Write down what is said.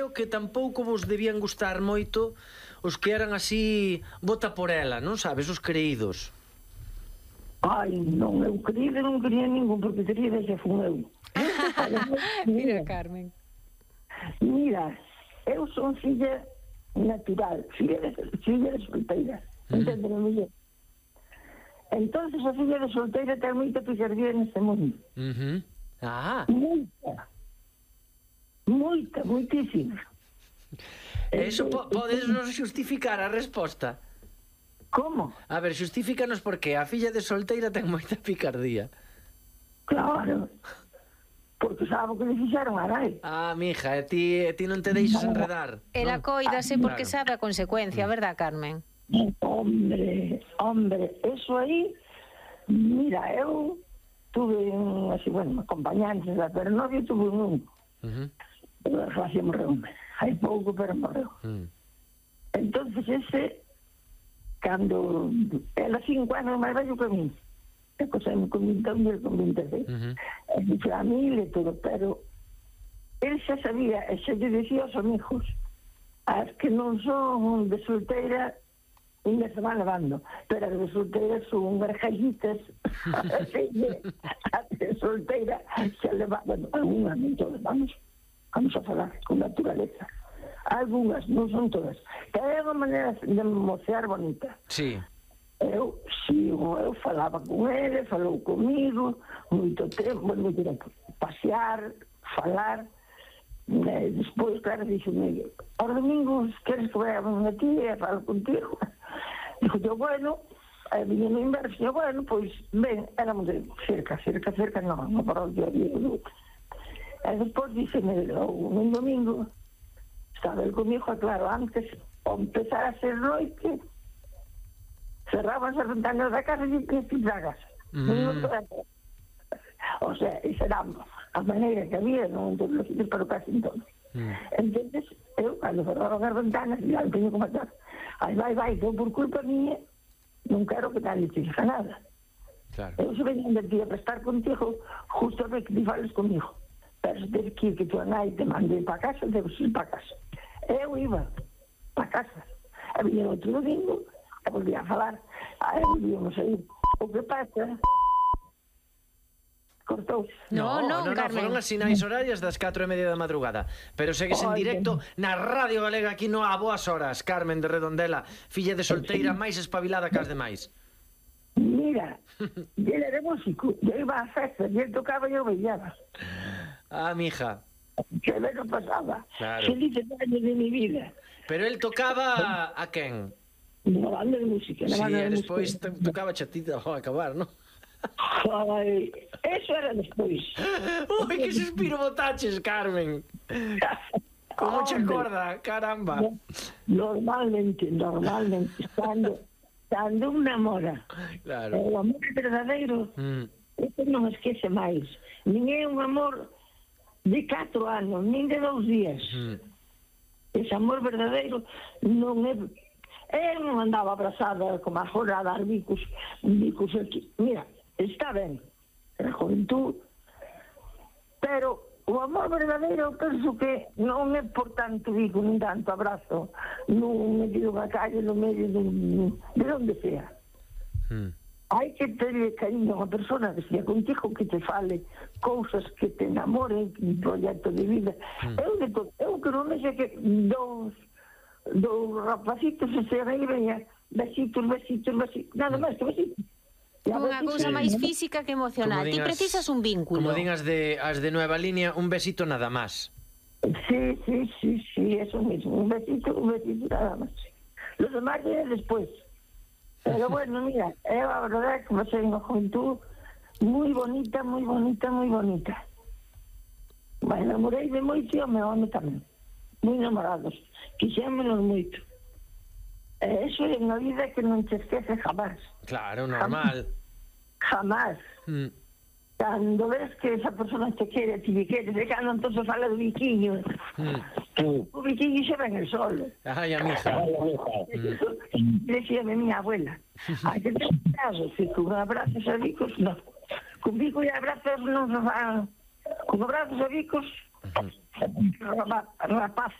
creo que tampouco vos debían gustar moito os que eran así bota por ela, non sabes, os creídos. Ai, non, eu non quería ningún, porque quería que fun eu. Mira, Carmen. Mira, eu son filla natural, filla de solteira, entendeme mellor. Entonces a filla de solteira ten moita picardía neste mundo. Moita, moitísima. Eso podes nos xustificar a resposta? Como? A ver, xustifícanos por que a filla de solteira ten moita picardía. Claro, porque sabe o que le fixeron a nai. Mija, ti non te deixas enredar. Ela coídase porque sabe a consecuencia, verdad, Carmen? Hombre, eso aí, mira, eu tuve así, bueno, acompañantes, pero novio tuve un relación morreu, hai pouco, pero morreu. Entonces ese, cando ela 5 anos máis vello que mí, e cosemos con 21 e el con 26, e mi familia e todo, pero ele xa sabía, e xa lle dicía aos amigos, as que non son de solteira, unha se van levando, pero as de solteira son gargallitas, as de solteira se levan, bueno, algunhas, non todas, vamos a falar con naturaleza. Algunhas, non son todas. Que é unha maneira de mocear bonita. Sí. Eu falaba con ele, falou comigo, moito tempo, pasear, falar. Despois, claro, dixo-me, os domingos queres que vaya a unha tía e falo contigo? Dijo yo, bueno, viñe no inverno, yo, bueno, pois, ben, éramos de cerca, non para o día a día. E despois dixeme, un domingo, estaba el comigo, claro, antes, ao empezar a ser noite, cerraban as ventanas da casa e que pisagas. O sea, esa era a maneira que había, non en todos os sitios, pero casi en todos. Entonces, eu, cando cerraban as ventanas, ya non teño como estar. Vai, que por culpa mía, non quero que nadie te diga nada. Claro. Eu se venía de ti a prestar contigo, justo a ver que ti fales comigo. Pero se tens que ir, que tu nai te mande para casa, debes ir para casa. Eu iba para casa. E vinha outro domingo, e volvía a falar. Aí volvíamos a ir. O que pasa... Cortouse. No, Carmen. Foron as sinais horarias das 4:30 da madrugada. Pero segues en directo na Radio Galega aquí no A Boas Horas. Carmen de Redondela, filla de solteira máis espabilada que as demais. Mira, ele era músico, eu iba a festa, e ele tocaba e eu bailaba. Mija. Que ben non pasaba. Claro. Felices años de mi vida. Pero el tocaba a quen? Na banda de música. Sí, e despois tocaba chatita ao acabar, non? Ai, eso era despois. Ui, que suspiro botaches, Carmen. Como che acorda, caramba. Normalmente, cando un namora, claro. O amor verdadeiro, eso non esquece máis. Nin é un amor de 4 anos, nin de 2 días. Ese amor verdadeiro non é... Eu non andaba abrazada como agora a dar bicos aquí. Mira, está ben, era juventud, pero o amor verdadeiro eu penso que non é por tanto bico, nin tanto abrazo, non medio da calle, no medio de onde sea. Hai que terle cariño a unha persona que sea contigo, que te fale cousas que te enamoren, un proxecto de vida. Eu que non sei que dous rapacitos se se veña besitos, nada máis que besitos. Unha cousa máis física que emocional. Ti precisas un vínculo. Como din as de Nueva Línea, un besito nada más. Sí, eso mismo. Un besito nada más. Los demás vienen después. Pero bueno, mira, a verdad que pasé en una juventud muy bonita. Me enamorei de moito e o meu home tamén. Moi enamorados. Quixémonos moito. Eso é unha vida que non te esquece jamás. Claro, normal. Jamás. Cando ves que esa persona te quere, ti queres, e cando entón se fala do biquiño. O biquiño xa ven el sol. Ai, amiga. Decíame miña abuela. Hai que ter cuidado, que con abrazos a bicos, non. Con bico e abrazos non se van. Con abrazos a bicos, rapaces.